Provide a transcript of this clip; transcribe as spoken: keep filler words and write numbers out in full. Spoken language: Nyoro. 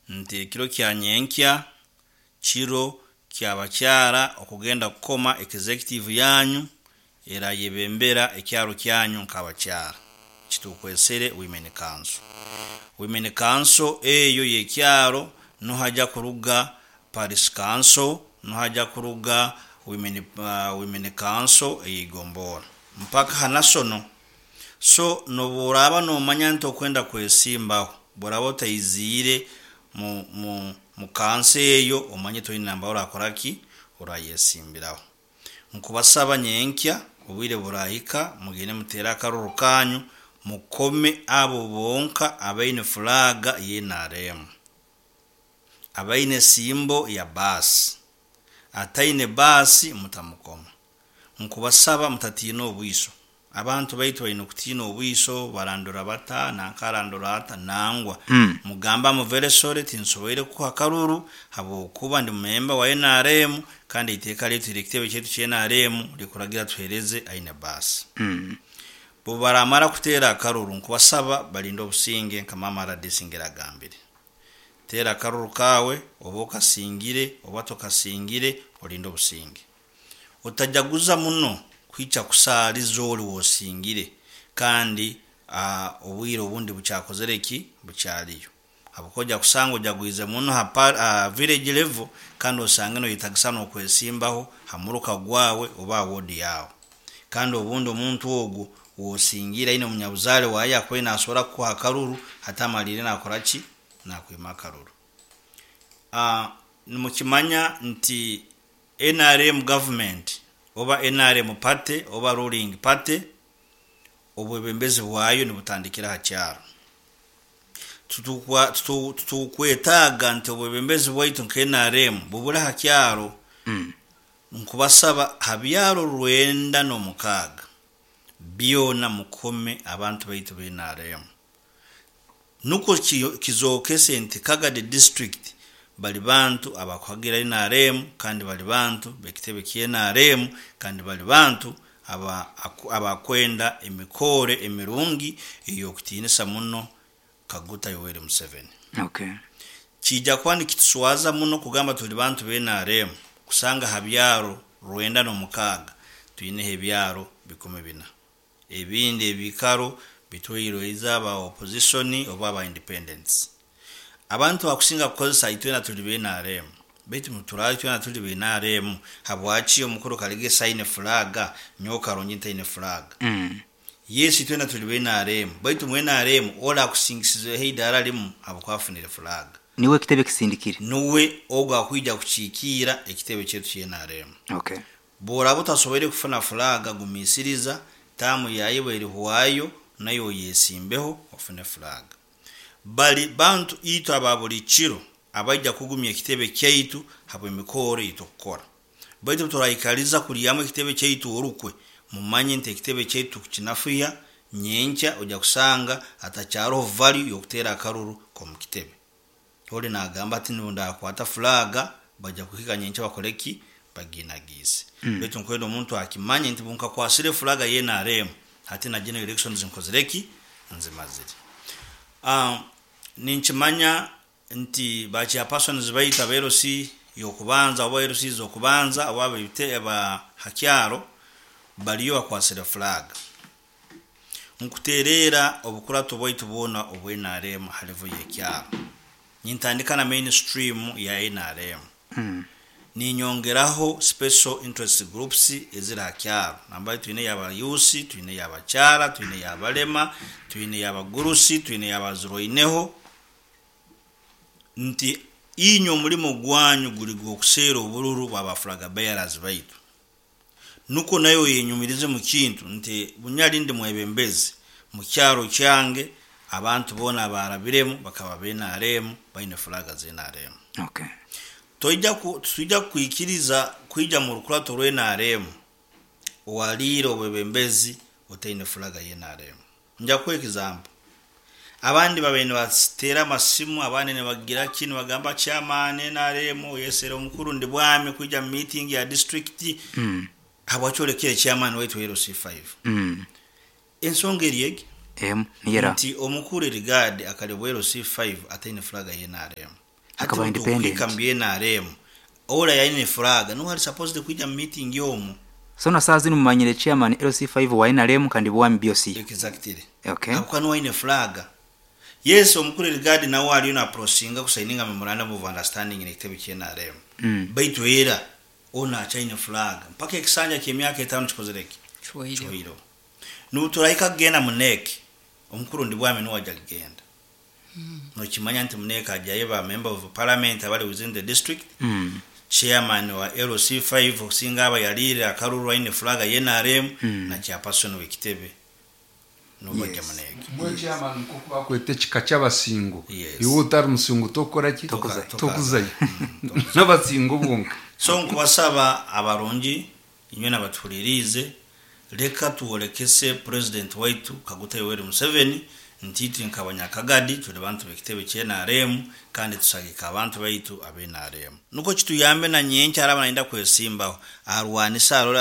Nti ekiro kya nyenkya kiro kyabakyara okugenda kukoma executive yanyu erayebembera ekyaro kyanyu nk'abakyara, kitukwesere women council. Women council eyo y'ekyaro nuhajya kuruga parish council, nuhajya kuruga women, uh, women council ey'eigombora mpaka ha national. So nobu oraaba nomanya nti okwenda kwesimbaho, bworaba otaiziire mu, mu, mu council eyo, omanye toine namba orakora ki, orayesimbiraho. Nkubasaba nyenkya obwire burahika mugende mutere akaruru kanyu, mukome abo bonka abaine flag ya N R M, abaine symbol ya baasi. Ataine baasi mutamukoma. Nkubasaba mutatiina obwiso. Abantu baitu baine kutiina obwiso, barandura bata, nankarandura ata nangwa. Mm. Mugamba muveresore, tinsoboire kukuha karuru habwokuba ndi memba wa N R M, kandi iteeka lyaitu, ekitebe kyaitu kya N R M likuragira tuhereze aine baasi. Mm. Bwe baramara kuteera akaruru, nkubasaba balinde obusinge nka mama R D C agambire. Teera akaruru kawe, oba okasingire oba tokasingire, olinde obusinge. Otajaguza muno kwica kusaaliza oli wosingire, kandi uh, obwire obundi bukyakozere ki, bukyaliyo, habwokuba ojja kusanga ojagwize muno ha, ha village level, kandi osange noyetagisa n'okwesimbaho ha muruka gwawe oba ha ward yawe, kandi obundi omuntu ogwo wosingire aine omunyabuzaare waye akubaire nasobora kukuha akaruru, hati amalire nakora ki, nakwima akaruru. uh, nimukimanya nti N R M government oba N R M party oba ruling party, obwebembezi bwayo nibutandikira ha kyaro. Tutukwetaaga nti obwebembezi bwaitu nka N R M bubure ha kyaro. Mm. Nkubasaba ha byaro rwenda n'omukaaga byona mukome abantu baitu ba N R M, nukwo kizookese nti Kagadi District bali bantu abakuhagira N R M, kandi bali bantu bekitebe kya N R M, kandi bali bantu abakwenda emikore emirungi ey'okutiinisa muno Kaguta Yoweri Museveni. Okay. Kijja kuba nikituswaza muno kugamba tuli bantu ba N R M, kusanga ha byaro rwenda n'omukaaga twineho ebyaro bikumi bina, ebindi ebikaro bitwairwe eza aba opposition oba aba independents. Abantu bakusinga kukozesa itwena tuli ba N R M, baitu muturaba itwena tuli ba N R M, habwaki omukuru Kaligesa aine flag, nyowe Karungi ntaine flag? Mm. Yes, itwena tuli ba N R M, baitu mu N R M ola akusingisizeho eidaara limu habwokuba afunire flag. Niwe ekitebe kisindikire. Nuwe ogwo akwija kukiikiira ekitebe kyaitu kya N R M. Okay. Bworaba otasoboire kufuna flag, gumiisiriza, taamu yayo bwerihwayo nayo oyesimbeho ofune flag. Bali bantu itwe aba buli kiro abaija kugumya ekitebe kyaitu habw'emikoro eitukukora. Baitu turaikaliza kulyamu ekitebe kyaitu orukwe, mumanye nti ekitebe kyaitu tukukinafuya. Nyenkya ojja kusanga atakyaroho value y'okuteera akaruru k'omu kitebe. Oli nagamba ati ndakwata flag, bajja kuhika nyenkya bakore ki, baginagiise. Mm. Baitu nkwenda omuntu akimanye nti bunkakwasire flag ya N R M, hati na general elections nkozire ki, nzimazire. uh, ninkimanya nti ba chairpersons baitu aba L C y'okubanza oba L C z'okubanza oba ab'ebite aba hakyaro baliyo bakwasire flag. Nkutereera obukurato bwaitu bwona obwa N R M ha level y'ekyaro, nintandika na mainstream ya N R M, Mm. ninyongeraho special interest groups eziri ha kyaro, nambali twine yaba youth, twine yabakyara, twine yabalema, twine yabagurusi, twine yabazirwaineho, nti inywe omulimo gwanyu guli gw'okuseera obururu bwa ba flag bearers baitu, nukwo nayo yenyumirize mu kintu nti bunyali ndi mwebembezi mu kyaro kyange, abantu boona abarabiremu bakaba ba N R M, baine flag za N R M. Okay. Toija ku tuija kwikiriza kwija mu rukurato rwa N R M owaliire obwebembezi otaine flag ya N R M. Nja kuha example. Abandi babaire nibateera amasimu, abandi nibagira ki, nibagamba, "Chairman N R M oyesere omukuru ndi bwami kwija mu meeting ya district." Mm. Habwaki olekere chairman waitu L C five? Mm. Ensonga eri egi Emu niyera. nti omukuru Erigadi akalebwa L C five ataine flag ya N R M. Akaba independent. Hati mu N R M, ola yaine flag nuwe ali supposed kwija mu meeting omu. So na saa zinu mumanyire chairman L C five wa N R M kandi bwami B O C. Exactly. Okay. Akuba nuwe aine flag. Yes, omukuru Rigadi nawe aliyo naprosinga kusayininga memorandum of understanding n'ekitebe kya N R M. Mm. Baitu era ono akyaine flag mpaka ekisanja ky'emyaka etaano kikozere ki? Kihoireho. Kihoireho. Nubuturahika kugenda mu N E C, omukuru ndi bwami nuwe ajja kugenda. Nokimanya nti mu N E C ajjayo ba member of parliament abali within the district, Mm. chairman wa L C five okusinga aba yaliire akalulu aine flag ya N R M, Mm. na chairperson w'ekitebe nubajja Yes. mu N E C. Mwe chairman, nkoku bakweta ekika ky'abasingo. Yes. Iwe otari musingo tokora ki? Tokuzayo. Tokuzayo n'abasingo bonka. So nkubasaba abarungi inywe nabatuhuliriize, leka tuwolekese president waitu Kaguta Yoweri Museveni nti itwe nk'abanyakagadi tuli bantu b'ekitebe kya N R M kandi tusagika abantu baitu abe N R M, nuko kituyambe na nyenkya araba nayenda kwesimbaho arwanise arole.